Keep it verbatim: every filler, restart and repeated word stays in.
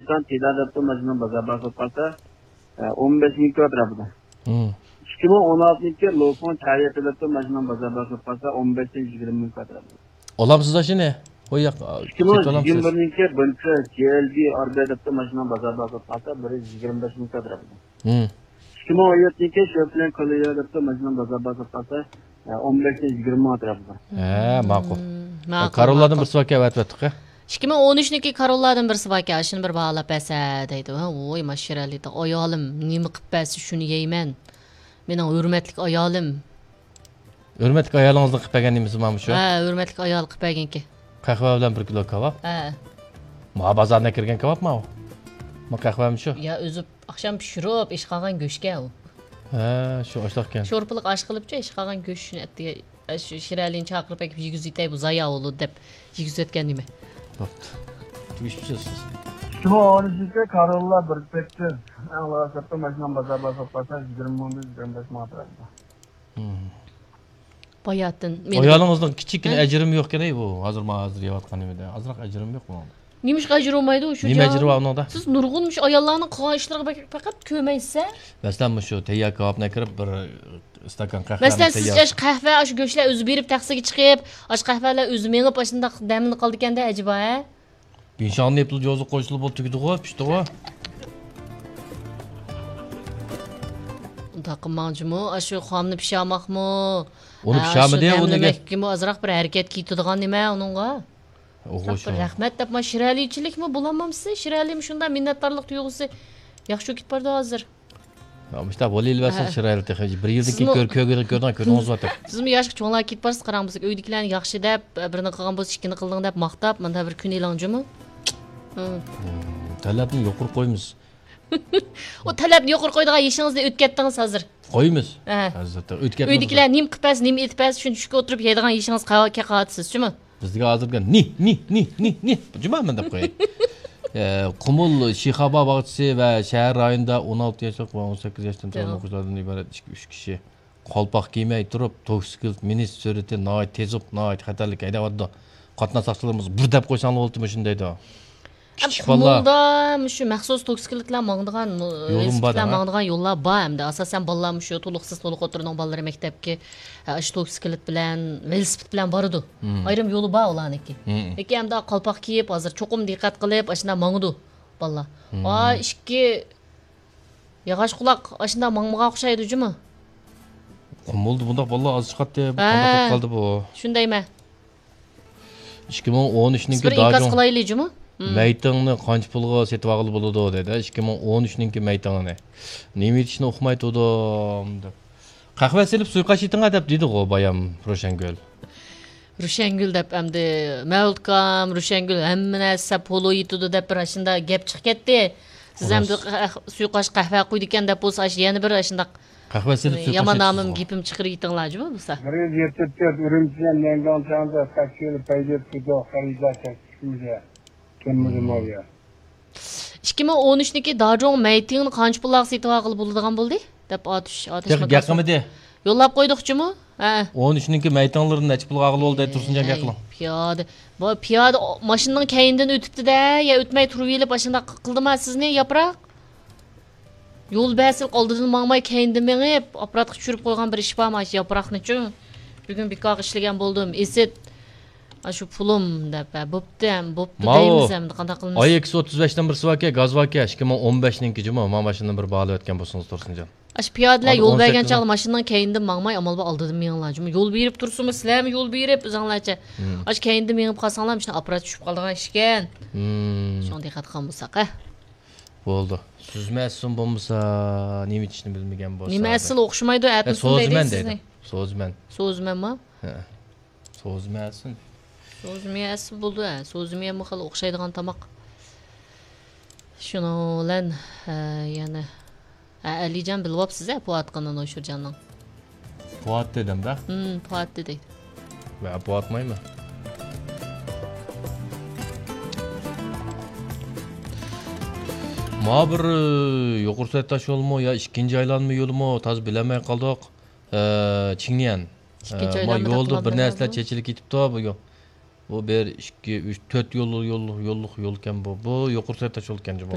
سان تىدا دەپتۇ، ماشىنىنىڭ بازار باھاسى بولۇپ قالسا، ئە، ئون بەش مىڭ كۋادرات بولىدۇ. مم. ئىككى مىڭ ئون ئالتىنچى يىلى لوفۇڭ چايەتى دەپتۇ، ماشىنىنىڭ بازار باھاسى بولۇپ قالسا، ئون بەشتىن يىگىرمە مىڭ كۋادرات بولىدۇ. ئالامسىز ئاشۇنى. ھوي ياق، ئىككى مىڭ سېتىۋالامسىز. يىگىرمە بىرىنچى يىلى بىنكا جي ئەل بى ئار بى دەپتۇ، ماشىنىنىڭ بازار باھاسى بولۇپ قالسا، بىر يۈز يىگىرمە بەش مىڭ كۋادرات بولىدۇ. مم. ئىككى مىڭ ئون يەتتىنچى شۆپلەن كوللېيا دەپتۇ، ماشىنىنىڭ بازار باھاسى بولۇپ قالسا، ئە، ئون بەشتىن يىگىرمە مىڭ ئەتراپىدا. ھە، ماقۇل. مم، ماقۇل، كاروللادىن ماقۇل. بىرسى باركەن، ئەۋەتىۋەتتۇق، ھە؟ ئىككى مىڭ ئون ئۈچنىڭكى كاروللادىن بىرسى باركەن، ئاشۇنى بىر باھالاپ بەرسە دەيدۇ. ھە، ۋوي، ماشىرەلى، ئايالىم نېمە قىپ بەرسە شۇنى يەيمەن. مېنىڭ ھۆرمەتلىك ئايالىم. ھۆرمەتلىك ئايالىڭىزنىڭ قىپ بەرگەن نېمىسى مانا شۇ؟ ھە، ھۆرمەتلىك ئايال قىپ بەرگەنكى. قەھۋە بىلەن بىر كىلو كاۋاپ؟ ھە. ما بازاردا كىرگەن كاۋاپمۇ ئۇ؟ ما قەھۋەمۇ شۇ؟ يا، ئۆزى ئاخشام پىشۇرۇپ ئىش قالغان گۆشكە ئۇ. ھە، شۇ ئاشلىق ئىكەن. شورپىلىق ئاش قىلىپچۇ، ئىش قالغان گۆش شۇنى ئەتىگە، ئە، شۇ شىرەلىنى چاقىرىپ ئەكىپ يېگۈزۈۋېتەي، بۇ زايا بولىدۇ دەپ يېگۈزۈۋەتكەن نېمە؟ بوپتۇ. تۈگۈشۈپسىز سىز. ئىككى مىڭ ئون ئۈچىنچى كاروللا بىر سەككىز. ئەڭ لازىم ماشىنام بازار بازار قالسا يىگىرمە مىڭدىن يىگىرمە بەش مىڭ ئەتراپىدا. باياتىن مېنى ئايالىڭىزنىڭ كىچىككىنە ھە؟ ئەجرىمۇ يوقكەن، ئەي، بۇ ھازىر ما ھازىر يەۋاتقان نېمىدە ئازراق ئەجرىم يوق بۇنىڭدا. نېمىشقا ئەجرى بولمايدۇ شۇ نېمە جان؟ ئەجرى بار ئۇنىڭدا؟ سىز نۇرغۇن مۇشۇ ئاياللارنىڭ قىلغان ئىشلىرىغا بەك-، پەقەت كۆرمەيسىز ھە؟ مەسىلەن، مۇشۇ تەييار كاۋاپنى ئەكىرىپ، بىر ئىستاكان قەھۋەنى مەسىلەن، سىزچە تەييار. ئاشۇ قەھۋە، ئاشۇ گۆشلەر ئۆزى بېرىپ تەخسىگە چىقىپ، ئاشۇ قەھۋەلەر ئۆزى مېڭىپ، ئاشۇنداق دەملىنىپ قالىدىكەندە ئەجەبا ھە؟ بىنشاڭنى پۇل جوزۇ قوشۇلۇپ تۈگىدىغۇ، پىشتىغۇ. ئۇنداق قىلماڭ جۇمۇ، ئاشۇ خامنى پىشاماقمۇ؟ ئۇنى ھە، پىشامىدى، ئاشۇ ئۇنى دەملىمەككىمۇ ئازراق بىر ھەرىكەت كېتىدىغان نېمە ئۇنىڭغا؟ ئوغۇ شۇ. بىر رەھمەت دەپ، ما شىرئەلىچىلىكمۇ بولالمامسىز؟ شىرئەلىمۇ شۇنداق مىننەتدارلىق تۇيغۇسى ياخشى كېتىپ بارىدۇ ھازىر. يا، مۇشۇنداق بولۇۋېرىۋەرسە ھە. شىرئەلى تېخى بىر يىلدىن كېيىن سىزمۇ كۆر-، كۆرگىلى كۆردىڭ، كۆردىڭىزمۇ تېخى. سىزمۇ ياشقا چوڭلاپ كېتىپ بارسىز، قاراڭ، بىز ئۆيدىكىلەرنى ياخشى دەپ، بىرنى قىلغان بولسا ئىككىنى قىلدىڭ دەپ ماختاپ، مۇنداق بىر كۈن ئېلىڭ جۇمۇ. ھىم. ھىم، تەلەپنى يۇقىرى قويىمىز. ئۇ تەلەپنى يۇقىرى قويىدىغان يېشىڭىزنى ئۆتكەتتىڭىز ھازىر. قويىمىز. ھە. ھازىر ئۆتكەتمىز. ئۆيدىكىلەر نېمە قىلىپ بەرسە، نېمە ئېتىپ بەرسە، شۇنى چۈشكە ئولتۇرۇپ يەيدىغان يېشىڭىز قا-، قالىۋاتىسىز، شۇمۇ؟ بىزگە ھازىرقى نى، نى، نى، نى، نى، جۇما مەن دەپ قوياي. ئە، قۇمۇل شىخابا باغچىسى ۋە شەھەر رايونىدا ئون ئالتە ياشلىق ۋە ئون سەككىز ياشتىن چوڭ ياق. ئوقۇغۇچىلاردىن ئىبارەت ئىككى، ئۈچ كىشى قالپاق كىيمەي تۇرۇپ، توكسىكلىت مىنىش سۈرئىتى ناھايىتى تېزىپ، ناھايىتى خەتەرلىك ھەيدەۋاتىدۇ. قاتناش ساقچىلىرىمىز بىر دەپ قويساڭلار بولدى مۇشۇنى دەيدۇ. ئەم، كىچىك بالىلار. قۇمۇلدا مۇشۇ مەخسۇس توكسىكلىتلار ماڭىدىغان، يولۇم بار ۋېلىسىپىتلار دەڭ، ھە؟ ماڭىدىغان يوللار بار ئەمدى. ئاساسەن بالىلار مۇشۇ تولۇقسىز، تولۇق ئوتتۇرىنىڭ بالىلىرى مەكتەپكە، ئە، ئاشۇ توكسىكلىت بىلەن، ۋېلىسىپىت بىلەن بارىدۇ. مم. ئايرىم يولى بار ئۇلارنىڭكى. مم. لېكىن ئەمدى قالپاق كىيىپ، ھازىر چوقۇم دىققەت قىلىپ، ئاشۇنداق ماڭىدۇ بالىلار. مم. ئا، ئىككى ياغاچ قۇلاق ئاشۇنداق ماڭمىغان ئوخشايدۇ جۇمۇ. قۇمۇلدا بۇنداق بالىلار ئاز چىقاتتى. بۇ ھە. قانداق بولۇپ قالدى بۇ؟ شۇندايمەن. ئىككى مىڭ ئون ئۈچنىڭكى بىر ئىنكاس داجۇڭ قىلايلى جۇمۇ. مم. مەيتىڭنى قانچە پۇلغا سېتىۋالغىلى بولىدۇ دەيدۇ. ئىككى مىڭ ئون ئۈچنىڭكى مەيتىڭىنى. نېمە ئېيتىشنى ئۇقماي تۇردۇم دەپ. قەھۋە سېلىپ سۇيۇقئاش ئېتىڭلار دەپ دېدىغۇ بايام روشەنگۈل. روشەنگۈل دەپ ئەمدى مەۋلۇتكام، روشەنگۈل ھەممە نەرسە پولۇ يېتىدۇ دەپ بىر ئاشۇنداق گەپ چىقىپ كەتتى. سىز ئەمدى قەھ-، سۇيۇقئاش قەھۋە قۇيىدىكەن دەپ بولسا، ئاشۇ يەنە بىر ئاشۇنداق يامان نامىم گېپىم چىقىرىۋېتىڭلار جۇمۇ بولسا. بىر يۈز يەتمىش تۆت ئۈرۈمچىدىن ليەنگاڭ چاڭزا تاكسىلى پەيدە تۇتۇق، خەرىدار تەكلىپ قىلدى. كەلمىدى ماۋۇ يەر. ئىككى مىڭ ئون ئۈچنىڭكى داجۇڭ مەيتىڭنى قانچە پۇللارغا سېتىۋالغىلى بولىدىغان بولدى؟ دەپ ئاتۇش، ئاتۇش تېخى گەپ قىلمىدى. يوللاپ قويدۇقچىمۇ؟ ھە. ئون ئۈچنىڭكى مەيتىڭلىرىنى نەچچە پۇلغا ئالغىلى بولدى؟ تۇرسۇنجان گەپ قىلىڭ. پىيادە. بۇ پىيادە ماشىنىنىڭ كەينىدىن ئۆتۈپتۇ-دە، يا ئۆتمەي تۇرۇۋېلىپ ئاشۇنداق قىلدىما سىزنى، ياپراق؟ يول بەرسىلىك ئالدىدىن ماڭماي كەينىدىن مېڭىپ، ئاپپاراتقا چۈشۈرۈپ قويغان بىر ئىش بار، مانا شۇ ياپراقنىچۇ. بۈگۈن بىكارغا ئىشلىگەن بولدۇم، ئېسىت. ئاشۇ پۇلۇم دەپ، ھە، بوپتۇ، ھەم بوپتۇ ماۋۇ دەيمىز، ئەمدى قانداق قىلىمىز؟ ئاي ئېكس ئوتتۇز بەشتىن بىرسى باركەن، گاز باركەن، ئىككى مىڭ ئون بەشنىڭكى جۇمۇ، مانا ماشىنىنى بىر باھالىۋەتكەن بولسىڭىز تۇرسۇنجان. ئاشۇ پىيادىلەر ھازىر يول ئون بەرگەن سەككىز چاغدا ماشىنىنىڭ كەينىدىن ماڭماي، ئامال بار ئالدىدىن مېڭىڭلار جۇمۇ. يول بېرىپ تۇرسىمۇ، سىلەرمۇ يول بېرىپ ئۆزۈڭلارچە. مم. ئاشۇ كەينىدىن مېڭىپ قالساڭلار، مۇشۇنداق ئاپپارات چۈشۈپ قالىدىغان ئىشكەن. مم. شۇڭا دىققەت قىلغان بولساق، ھە. بولدى. سۈزمە ئەسلىم بولمىسا، نېمە ئېيتىشنى بىلمىگەن بولسا. نېمە ئەسلى ئوخشىمايدۇ، ھە، ئەتىسىنى سوزىمەن دەيدۇ سىزنى. سوزىمەن. سوزىمەنما؟ ھە. سوزىمە ئەسلى. سوزىمە ئەسلى بولدى، ھە. سوزىمە خېلى ئوخشايدىغان تاماق. شۇنىڭ بىلەن، ھە، يەنە، ھە، ئەلىجان بىلىۋاپسىز، ھە، پوئاتقىنىنى ئوشۇرجاننىڭ. پوئات دېدىم-دە. ھىم، پوئات دېدى. ۋە پوئاتمايمەن. ما بىر، ئى، يۇقىرى سەتداش يولمۇ يا ئىككىنچى ئايلانما يولىمۇ تازا بىلەلمەي قالدۇق. ئى، چىڭنيەن. ئىككىنچى ئى، ما ئايلانما يولدا دەپلا بىر نەرسىلەر بىلمەيمەن. چېچىلىپ كېتىپتۇ بۇ يول. بۇ بىر، ئىككى، ئۈچ، تۆت يول، يول، يوللۇق يولكەن بۇ. بۇ يۇقىرى سەتداش يولكەن جۇمۇ.